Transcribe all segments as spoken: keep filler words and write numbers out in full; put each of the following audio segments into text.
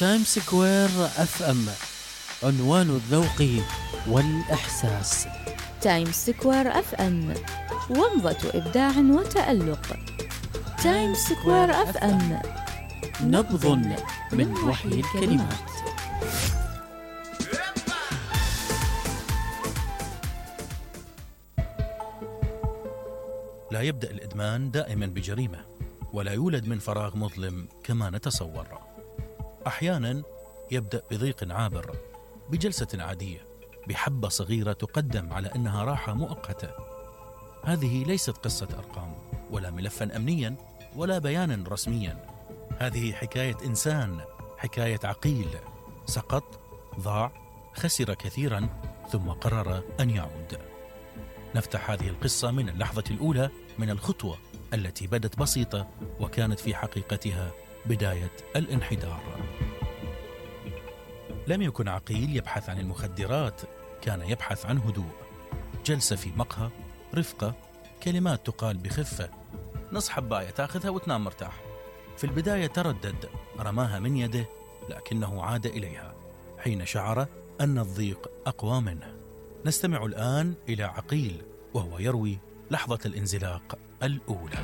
تايم سكوير اف ام، عنوان الذوق والإحساس. تايم سكوير اف ام، ومضة إبداع وتألق. تايم سكوير اف ام، نبض من وحي الكلمات. لا يبدأ الإدمان دائما بجريمة، ولا يولد من فراغ مظلم كما نتصور. أحيانا يبدأ بضيق عابر، بجلسة عادية، بحبة صغيرة تقدم على أنها راحة مؤقتة. هذه ليست قصة أرقام، ولا ملفا أمنيا، ولا بيانا رسميا. هذه حكاية إنسان، حكاية عقيل، سقط، ضاع، خسر كثيرا، ثم قرر أن يعود. نفتح هذه القصة من اللحظة الأولى من الخطوة التي بدت بسيطة وكانت في حقيقتها بداية الانحدار. لم يكن عقيل يبحث عن المخدرات، كان يبحث عن هدوء. جلسة في مقهى، رفقة، كلمات تقال بخفة، نص حباية تاخذها وتنام مرتاح. في البداية تردد، رماها من يده، لكنه عاد إليها حين شعر أن الضيق أقوى منه. نستمع الآن إلى عقيل وهو يروي لحظة الانزلاق الأولى.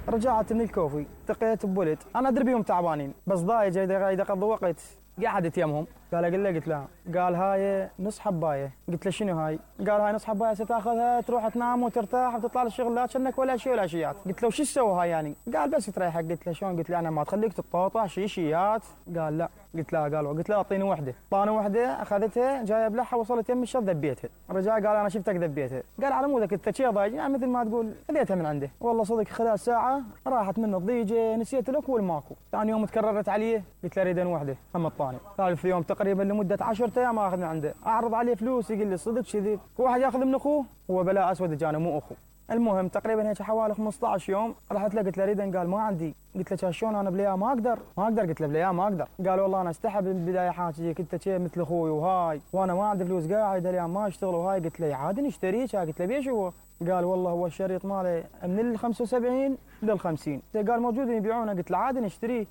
رجعت من الكوفي، التقيت بولد، أنا أدري بيهم تعبانين، بس ضايج قاعد أقضي وقت، قعدت يمهم. قال أقول له، قلت له، قال هاي نص حباية. قلت له شنو هاي؟ قال هاي نص حباية ستاخذها تروح تنام وترتاح وتطلع للشغل، لا كأنك ولا شيء ولا شيات. قلت له وش تسوي هاي يعني؟ قال بس تريحك. قلت له شلون؟ قلت له أنا ما تخليك تتقاطع شيء شيات. قال لا. قلت له قال قلت له أعطيني وحدة. أعطاني وحدة، أخذتها جاي أبلعها، وصلت يم الشط ذبيتها. رجع قال أنا شفتك ذبيتها. قال على مودك أنت شي ضايج، يعني مثل ما تقول خذيتها من عنده. والله صدق خلال ساعة راحت منه الضيجة، نسيت الأكل ماكو. ثاني يوم تكررت عليه، قلت له أريد وحدة هم الطاني. ثالث يوم تقريبا لمدة عشرة أيام آخذ من عنده، أعرض عليه فلوس يقول لي صدق كذي، واحد ياخذ من أخوه هو بلاء أسود جانا مو أخوه. المهم تقريبا هيك حوالي خمسة عشر يوم رحت له قلت له أريد، قال ما عندي. قلت له شلون أنا بليا ما أقدر ما أقدر قلت له بليا ما أقدر. قال والله أنا استحب من البداية حاجيك أنت شيء مثل أخوي وهاي، وأنا ما عندي فلوس قاعد اليوم ما أشتغل وهاي. قلت له عادي نشتريك. قلت له بيش هو؟ قال والله هو الشريط ماله من ال خمسة وسبعين لل خمسين، قال موجودين يبيعونه. قلت له عادي نشتريه.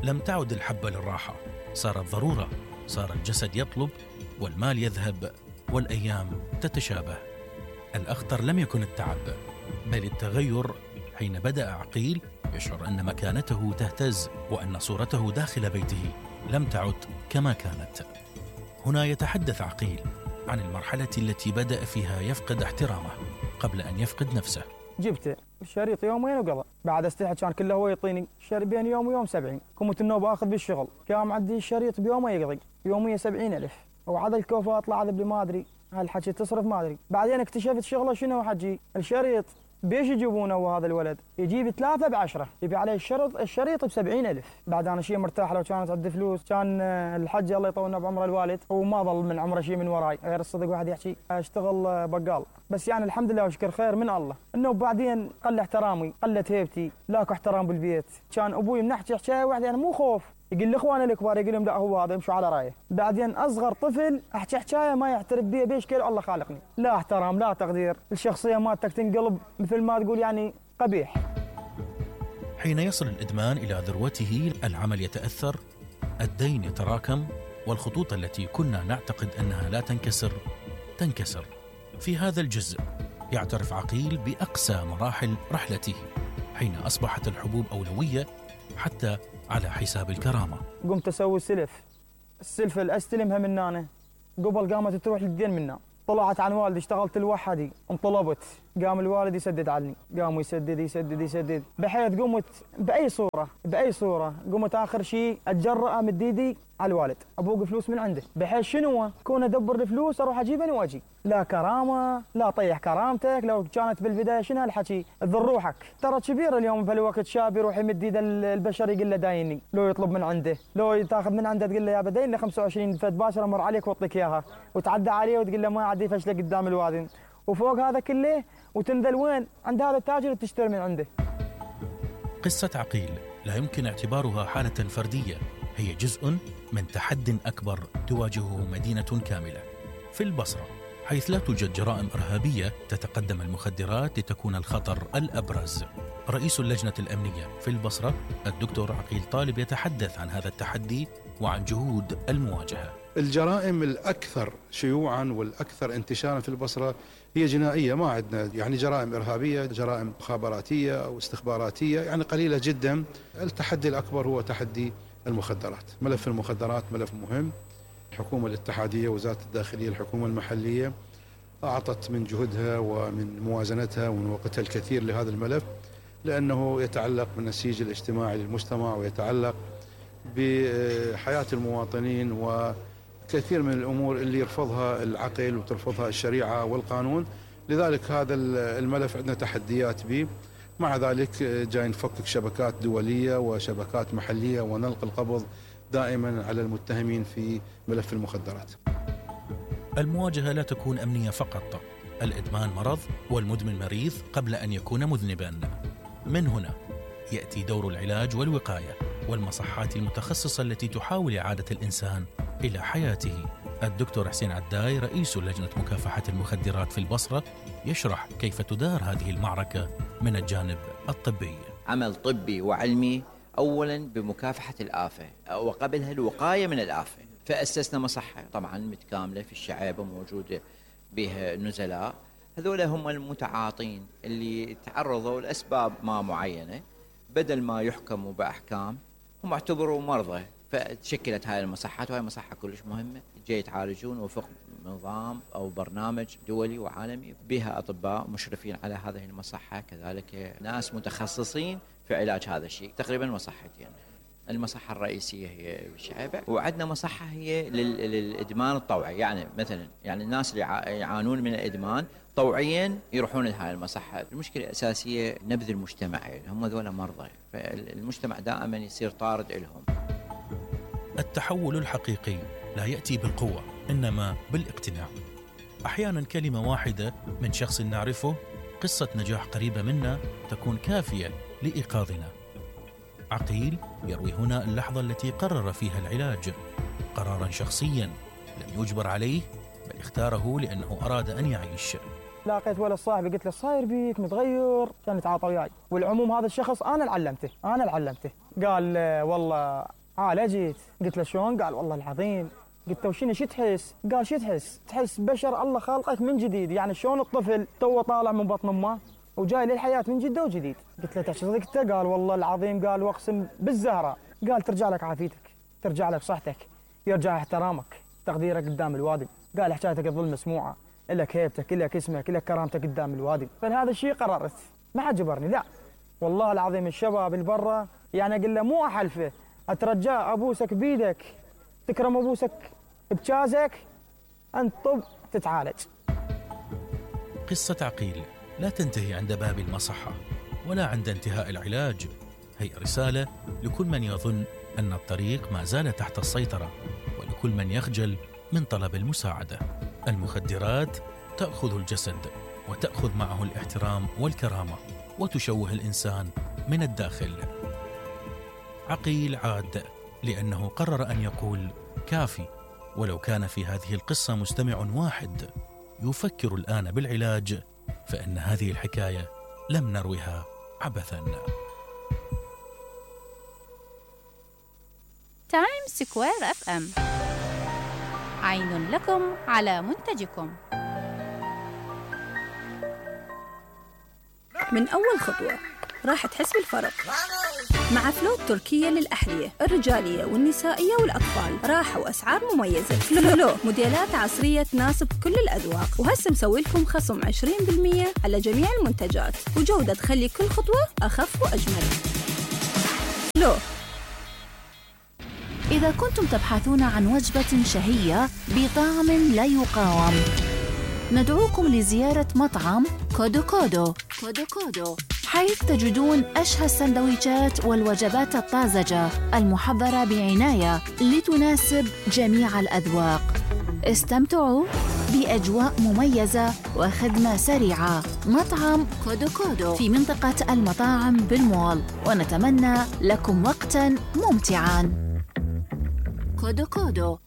لم تعد الحبة للراحة، صارت ضرورة، صار الجسد يطلب والمال يذهب والأيام تتشابه. الأخطر لم يكن التعب، بل التغير. حين بدأ عقيل يشعر أن مكانته تهتز، وأن صورته داخل بيته لم تعد كما كانت. هنا يتحدث عقيل عن المرحلة التي بدأ فيها يفقد احترامه قبل أن يفقد نفسه. جبته الشريط يومين وقضى، بعد استحى كان كله هو يعطيني الشريط بين يوم ويوم سبعين. كنت النوبة آخذ بالشغل، كان معدي الشريط بيومه يقضي يومية سبعين ألف، وعاد الكوفة أطلع ذبلي ما أدري هالحكي تصرف ما أدري. بعدين اكتشفت شغله شنو حجي الشريط بيش يجيبونه وهذا الولد يجيب ثلاثة بعشرة، يبي عليه الشريط الشريط بسبعين ألف. بعد أنا شيء مرتاح، لو كانت عندي فلوس كان الحج الله يطولنا بعمره الوالد وما ظل من عمره شيء من وراي غير الصدق. واحد يحكي اشتغل بقال، بس يعني الحمد لله وشكر خير من الله. انه بعدين قل احترامي، قلت هيبتي، لاكو احترام بالبيت. كان ابوي من نحكي حكايه واحده يعني مو خوف، يقول لاخوانه الكبار يقول لهم لا هو هذا يمشوا على رايه. بعدين اصغر طفل احكي حكايه ما يعترف بيها بيش كيل الله خالقني. لا احترام لا تقدير، الشخصيه مالتك تنقلب مثل ما تقول يعني قبيح. حين يصل الإدمان إلى ذروته العمل يتأثر، الدين يتراكم، والخطوط التي كنا نعتقد أنها لا تنكسر تنكسر. في هذا الجزء يعترف عقيل بأقسى مراحل رحلته، حين أصبحت الحبوب أولوية حتى على حساب الكرامة. قمت أسوي سلف، السلفة اللي أستلمها من أنا قبل قامت تروح للدين منا. طلعت عن والدي، اشتغلت لوحدي، انطلبت، قام الوالد يسدد عني، قام يسدد يسدد يسدد، بحيث قمت بأي صورة بأي صورة قمت آخر شيء أتجرأ مد ايدي على الوالد، أبوق فلوس من عنده، بحيث شنو كون أدبر الفلوس أروح أجيبها وأجي. لا كرامة، لا طيح كرامتك. لو كانت بالبداية شنو هالحكي تضر روحك، ترى كبير اليوم في الوقت شاب يروح يمد ايد البشر يقول له دايني، لو يطلب من عنده، لو تاخذ من عنده تقول له يا بدين لي خمسة وعشرين فد باشر امر عليك واعطيك اياها، وتعدى عليه وتقول له ما عاد يفشلك قدام الوادن، وفوق هذا كله وتنزل وين عند هذا التاجر تشتري من عنده. قصة عقيل لا يمكن اعتبارها حالة فردية، هي جزء من تحد أكبر تواجهه مدينة كاملة. في البصرة حيث لا توجد جرائم إرهابية تتقدم المخدرات لتكون الخطر الأبرز. رئيس اللجنة الأمنية في البصرة الدكتور عقيل طالب يتحدث عن هذا التحدي وعن جهود المواجهة. الجرائم الأكثر شيوعاً والأكثر انتشاراً في البصرة هي جنائية، ما عندنا يعني جرائم إرهابية، جرائم مخابراتية أو استخباراتية، يعني قليلة جداً. التحدي الأكبر هو تحدي المخدرات. ملف المخدرات ملف مهم. الحكومة الاتحادية، وزارة الداخلية، الحكومة المحلية أعطت من جهدها ومن موازنتها ومن وقتها الكثير لهذا الملف، لأنه يتعلق بالنسيج الاجتماعي للمجتمع ويتعلق بحياة المواطنين وكثير من الأمور اللي يرفضها العقل وترفضها الشريعة والقانون. لذلك هذا الملف عندنا تحديات به. مع ذلك جاي نفكك شبكات دولية وشبكات محلية ونلقي القبض دائما على المتهمين في ملف المخدرات. المواجهة لا تكون أمنية فقط، الإدمان مرض والمدمن مريض قبل أن يكون مذنبا. من هنا يأتي دور العلاج والوقاية والمصحات المتخصصة التي تحاول إعادة الإنسان إلى حياته. الدكتور حسين عداي رئيس لجنة مكافحة المخدرات في البصرة يشرح كيف تدار هذه المعركة من الجانب الطبي. عمل طبي وعلمي أولا بمكافحة الآفة وقبلها الوقاية من الآفة، فأسسنا مصحة طبعا متكاملة في الشعيبة موجودة بها نزلاء، هذول هم المتعاطين اللي تعرضوا لأسباب ما معينة، بدل ما يحكموا بأحكام هم اعتبروا مرضى، فتشكلت هاي المصحات. وهي مصحة كلش مهمة، جاي يتعالجون وفق نظام أو برنامج دولي وعالمي بها أطباء مشرفين على هذه المصحة، كذلك ناس متخصصين في علاج هذا الشيء. تقريبا مصحتين، المصحة الرئيسية هي بالشعيبة، وعندنا مصحة هي للإدمان الطوعي، يعني مثلا يعني الناس اللي يعانون من الإدمان طوعيا يروحون لهذه المصحة. المشكلة الأساسية نبذ المجتمع، يعني هم ذولا مرضى، فالمجتمع دائما يصير طارد لهم. التحول الحقيقي لا يأتي بالقوة إنما بالاقتناع. أحيانا كلمة واحدة من شخص نعرفه، قصة نجاح قريبة منا تكون كافية لإيقاظنا. عقيل يروي هنا اللحظة التي قرر فيها العلاج قرارا شخصيا لم يجبر عليه، بل اختاره لأنه أراد أن يعيش. لاقيت ولد صاحبي قلت له صاير بيك متغير، كان يتعاطى وياي، والعموم هذا الشخص أنا اللي علمته أنا اللي علمته قال والله عالجت. قلت له شلون؟ قال والله العظيم. قلت له وشنو شو تحس؟ قال شو تحس؟ تحس بشر الله خالقك من جديد، يعني شلون الطفل تو طالع من بطن امه وجاي للحياة من جدة وجديد. قلت له تحس صدقته؟ قال والله العظيم. قال واقسم بالزهرة. قال ترجع لك عافيتك، ترجع لك صحتك، يرجع احترامك، تقديرك قدام الوادي. قال حكايتك تظل مسموعة، لك هيبتك، لك اسمك، لك كرامتك قدام الوادي. فلهذا الشيء قررت، ما حد جبرني، لا والله العظيم. الشباب اللي برا يعني اقول له مو احلفه، اترجاه ابوسك بيدك، تكرم ابوسك بجازك، انت طب تتعالج. قصة عقيل لا تنتهي عند باب المصحة ولا عند انتهاء العلاج، هي رسالة لكل من يظن أن الطريق ما زال تحت السيطرة، ولكل من يخجل من طلب المساعدة. المخدرات تأخذ الجسد وتأخذ معه الاحترام والكرامة وتشوه الإنسان من الداخل. عقيل عاد لأنه قرر أن يقول كافي، ولو كان في هذه القصة مستمع واحد يفكر الآن بالعلاج، فإن هذه الحكاية لم نروها عبثاً. تايم سكوير اف ام، عين لكم على منتجكم. من أول خطوة راح تحس بالفرق مع فلو التركية للأحذية الرجالية والنسائية والأطفال، راحة وأسعار مميزة. فلو موديلات عصرية تناسب كل الأذواق، وهسه مسوي لكم خصم عشرين بالمئة على جميع المنتجات، وجودة تخلي كل خطوة أخف وأجمل. فلو. إذا كنتم تبحثون عن وجبة شهية بطعم لا يقاوم، ندعوكم لزيارة مطعم كودو كودو كودو كودو، حيث تجدون أشهى السندويشات والوجبات الطازجة المحضرة بعناية لتناسب جميع الأذواق. استمتعوا بأجواء مميزة وخدمة سريعة. مطعم كودو كودو في منطقة المطاعم بالمول، ونتمنى لكم وقتاً ممتعاً. كودو كودو.